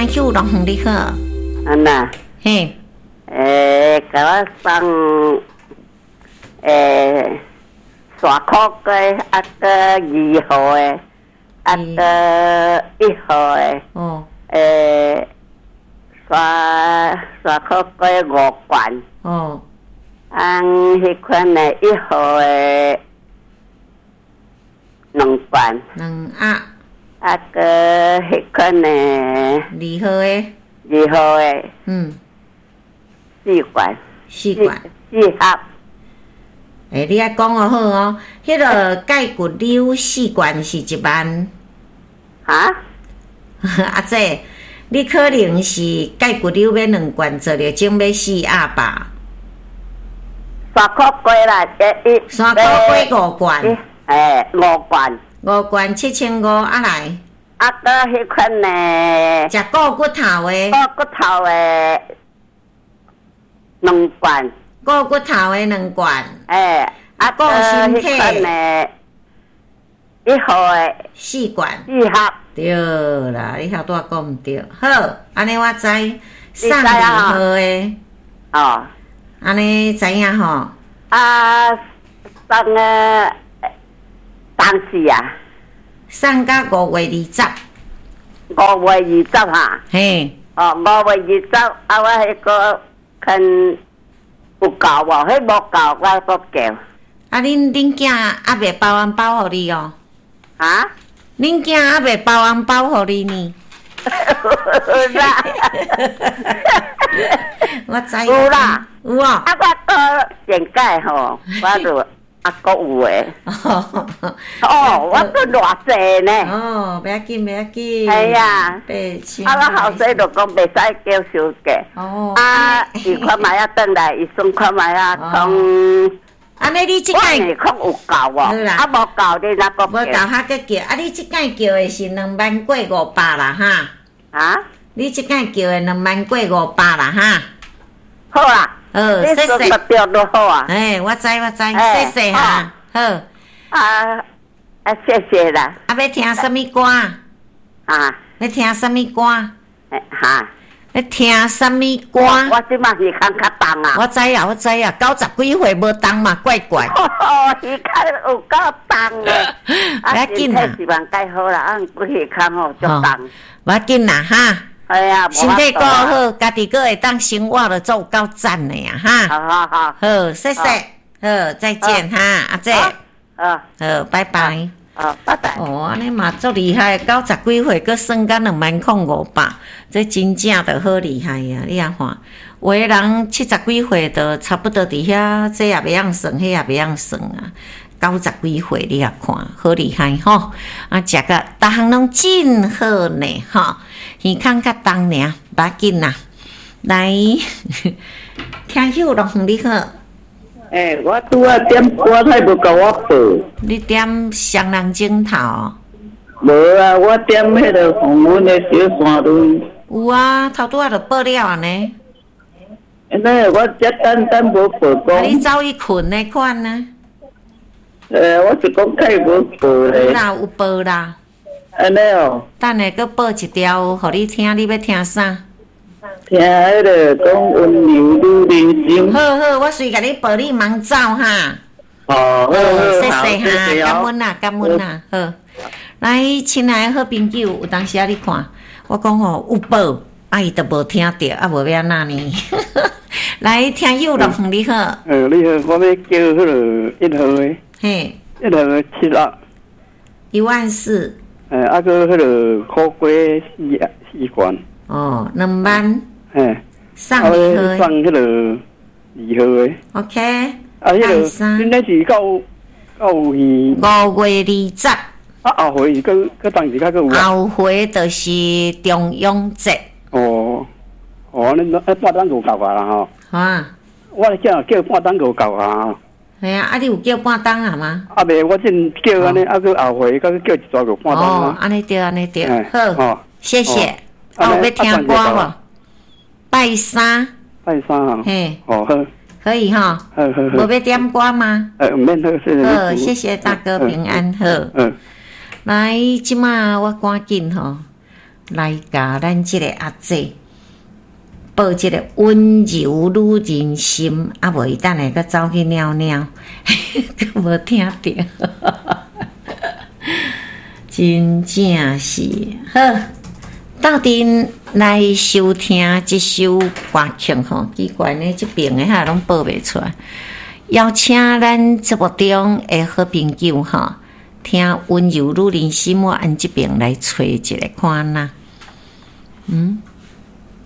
聽友樂園你好。啊呐，嘿，共我送沙苦瓜，啊閣二號的，啊閣一號的。沙苦瓜五罐。啊，彼款的一號的兩罐。兩盒。啊，閣彼款的二號的。二號的。四罐。四罐。四盒。你愛講予好哦，彼个蓋骨溜四罐是1萬。哈？阿姐，你可能是蓋骨溜買兩罐，做了種買四盒吧？沙苦瓜啦，一沙苦瓜五罐。五罐。五罐7500，啊來。啊，閣彼款呢？食顧骨頭的。顧骨頭的兩罐。顧骨頭的兩罐。啊，顧身體。彼款的一號的四罐。四盒。對啦，你頭拄仔講毋對。好，按呢我知，送二號的。按呢知影吼？啊，送個當時啊。送到5月20。5月20哈。嘿。哦，5月20，啊，我彼个看有夠無？彼無夠，我閣叫。啊，恁囝猶未包紅包予你哦？哈？恁囝猶未包紅包予你呢？有啦。我知。有啦。有哦。啊，我閣上屆吼，我就啊，閣有的。哦，我閣偌濟呢。哦，袂要緊，袂要緊。係啊。 8000。啊，我後生就講袂使叫收價。啊，伊看覓仔轉來，伊算看覓仔講。按呢你這擺我是講有夠無？啊，無夠你若閣無夠較閣叫。啊，你這擺叫的是2萬過500啦，哈？啊？你這擺叫的2萬過500啦，哈？好啦。好，謝謝。你算得好啊。我知我知，謝謝哈。好。啊啊，謝謝啦。啊，欲聽啥物歌？啊？欲聽啥物歌？哈？欲聽啥物歌？我這擺耳孔較重啊。我知啊，我知啊，90幾歲無重嘛，怪怪。哦，耳孔有夠重的。袂要緊啦。身體是蠻蓋好啦，啊，毋過耳孔吼足重。無要緊啦，哈。係啊，身體顧好，家己閣會當生活就足有夠讚的啊，哈。好好好。好，謝謝。好，再見哈，阿姐。好，拜拜。哦，拜拜。哦，按呢嘛足厲害，90幾歲閣算甲2萬零500，這真正就好厲害啊！你啊看，有的人70幾歲就差不多佇遐，這也袂曉算，彼也袂曉算啊。90幾歲你啊看，好厲害吼！啊，食甲逐項攏真好呢，吼，耳孔較重爾，無要緊啦。來，聽友樂園你好。我拄仔點歌，他無共我報。你點雙人枕頭？無啊，我點彼个黃阮的小山崙。有啊，頭拄仔就報了啊呢。那我這等等無報講。啊，你走去睏的款呢？我是講開無報咧。有啦，有報啦。按呢哦。等下閣報一條，予你聽，你欲聽啥？聽彼个講溫柔女人心。好好，我隨共你報，你茫走哈。哦，好，謝謝哈，感恩啦，感恩啦，好。來，親愛的好朋友，有當時啊，你看，我講吼有報，啊伊都無聽著，啊無欲按怎呢？來，聽友樂園你好。你好，我欲叫彼个一號的。嘿。一號的七盒。1萬4。啊，閣彼个苦瓜四四罐。哦，2萬。送二號。送彼个二號的。 OK。啊，彼个，恁那是到去。5月20。啊，後回是閣閣當時較閣有。後回就是重陽節。哦，哦，恁啊半當就夠啊啦吼。啊。我叫半當就夠啊。係啊，啊你有叫半當啊嗎？啊未，我先叫按呢，啊閣後回閣叫一逝就半當啊。哦，按呢對，按呢對，好，謝謝。啊，有欲聽歌無？拜三。拜三啊。嘿。哦好。可以哈。好好好。無欲點歌嗎？毋免好，謝謝。好，謝謝大哥平安好。來，這馬我趕緊吼，來共咱這个阿姐報這个溫柔女人心，啊無伊等下閣走去尿尿，閣無聽著，真正是好。鬥陣來收聽這首歌曲吼，奇怪呢，這爿的遐攏播袂出來。邀請咱節目中的好朋友吼，聽溫柔女人心，我按這爿來揣一下看哪。嗯。